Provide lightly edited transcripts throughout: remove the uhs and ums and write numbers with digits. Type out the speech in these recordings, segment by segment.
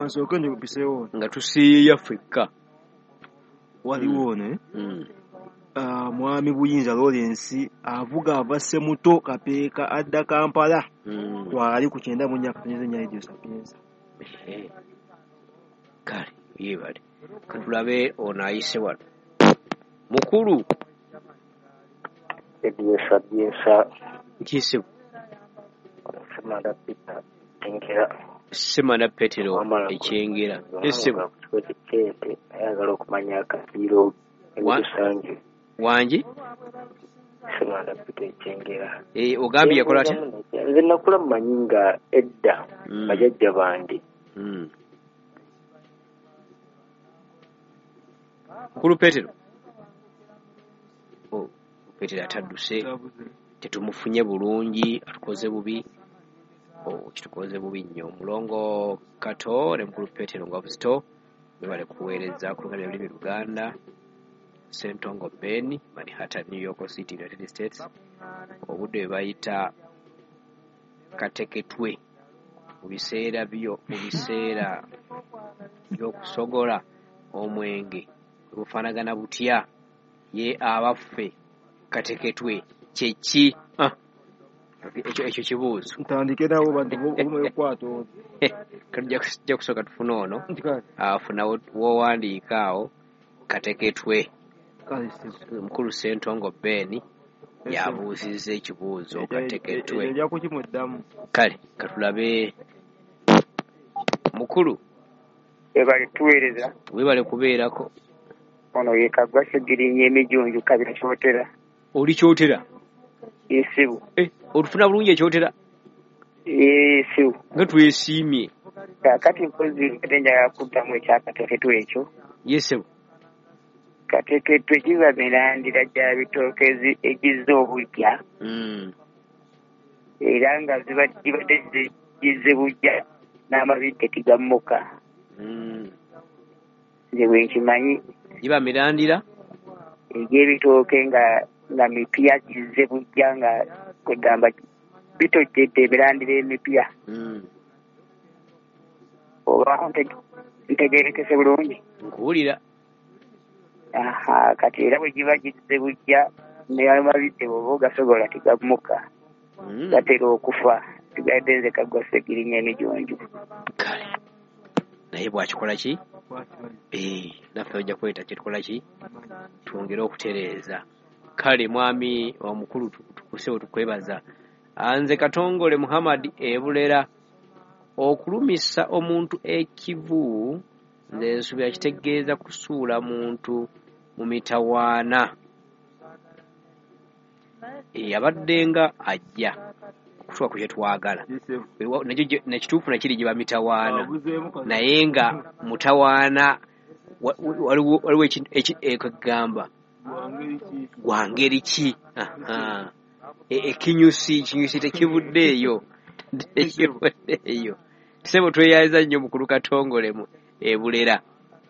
Nsooke njikupiseewo. Nga tusiiya ffekka. Waliwo ono Mwami Buyinza Lawrence avuga ava Ssemuto Kapeeka adda Kampala. Kwali ku 94.4 Radio Sapienza. Kale yeebale, katulabe ono ayise wano. Mukulu. Radio Sapienza. Nkise. Ssemanda Peter Ekyengera. Ssemanda Petero Ekyengera. Ssebo. Ayagala okumanya akafiiro emisangi. Wangi? Ssemanda Peter Ekyengera. Ogambye yakola atya? Nze nakula mmanyi nga edda bajjajja bange. Mukulu Petero. Oh, Petero atadduse. Tetumufunye bulungi, atukoze bubi. Oh, kitukoze bubi nnyo. Mulongo Kato ne Mukulu Petero nga Busito webale kuweereza ku Luganda Lulimi Luganda. Ssentongo Ben, Manhattan, New York City, United States. Obudde bwe bayita kateketwe mu biseera by'okusogola omwenge bufaanagana butya? Ye abaffe kateketwe kye ki? Ekyo kibuuzo. Ntandike nabo bantu omukwata ono. Tujja kusooka tufune ono. Afuna w'owandiika awo kateketwe. Mukulu Ssentongo Ben yabuuzizza ekibuuzo kateketwe. Ojja kukimuddamu. Kale katulabe. Mukulu. Webale tuweereza. Webale kubeerako. Ono ye Kaggwa Ssegirinya emijunju Kabira Kyotera. Oli Kyotera? Esibu. Otufuna bulungi ekyotera? Esibu. Nga twesiimye. Kaakati mpozi mbadde njagala kuddamu ekyakateketwe ekyo. Ye ssebo. Kateketwe kiba mirandira gya bitooke egizza obujja. Era nga zibadde gizze bujja n'amabidde tegammuka. Nze bwe nkimanyi. Giba mirandira? Egy'ebitooke nga mipya gizze bujja nga kwegamba bitojjedde emirandira emipya. Oba ntegeerekese bulungi? Nkuwulira. Aha, kati era bwe giba gizze bujja n'amabidde bw'oba ogasogola tegammuka. Gatera okufa. Sigadde nze Kaggwa Ssegirinya emijunju. Kale. Naye bw'akikola ki? Naffe ojja kweta kye tukola ki? Twongere okutereeza. Kale mwami omukulu tukusewo tukwebaza. Nze Katongole Muhammad Ebulera. Okulumisa omuntu ekivu nze nsuubira kitegeeza kusuula muntu mu mitawaana. Abadde nga ajja okutuuka ku kye twagala. Nekituufu nakiri giba mitawaana. Naye nga mutawaana waliwo ekigamba gwa ngeri ki? Ekinyusi tekivuddeeyo. Tekivuddeeyo. Ssebo tweyanza nnyo Mukulu Katongole Ebulera.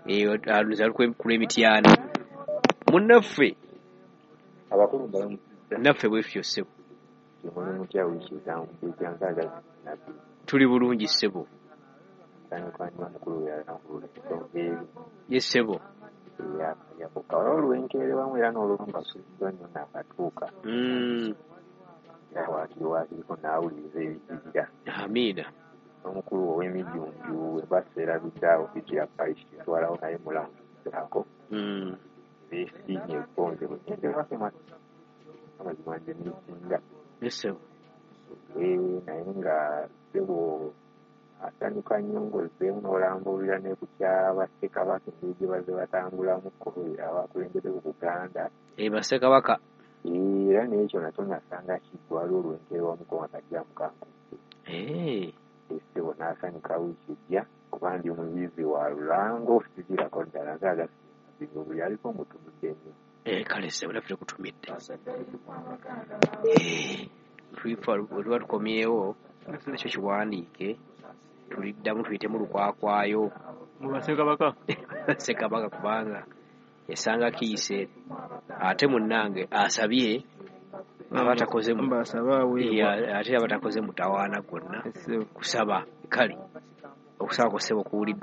Ku lw'Emityana. Munnaffe. Abakulu mbalamusizza. Naffe bwe tutyo ssebo. Muli mutya wiiki ez'ankaaga nabbi? Tuli bulungi ssebo. Nsanyuka nnyo omukulu yalambulula ensonga eri. Ye ssebo. Eyakuka. Waliwo olw'enkeera wamu era n'olumu asuubiddwa nnyo naakatuuka. Era waakiri naawuliriza ebijjirira. Amiina. Omukulu ow'emijunju we baseerabidde awo Bijja Parish kitwalawo naye mulamuzaako. Beesiimye ekkonze bwe ngenda ewaffe amazima nze nneesinga. Ye ssebo. Naye nga ssebo asanyuka nnyo ng'ozzeemu n'olambulira ne ku kya bassekabaka engeri gye bazze batambulamuko abakulembeze ku Buganda. Bassekabaka. Era n'ekyo nakyo nasanga kiggwa waliwo olw'enkeera wamuko nga kajjamu kankubye. Ssebo n'asanyuka wiiki ejja kuba ndi muyizi wa lulango sigirako ddala nze agasinga buli aliko mutumidde nnyo. Kale ssebo naffe tukutumidde. Bwe tuba tukomyewo nakyo kiwandiike tuliddamu tuyitemu lukwakwayo. Mu bassekabaka? Bassekabaka kubanga esanga kiyise ate munnange asabye abatakoze ate abatakoze mutawaana gwonna kusaba. Kale Okusaba kw'ossebo kuwuliddwa.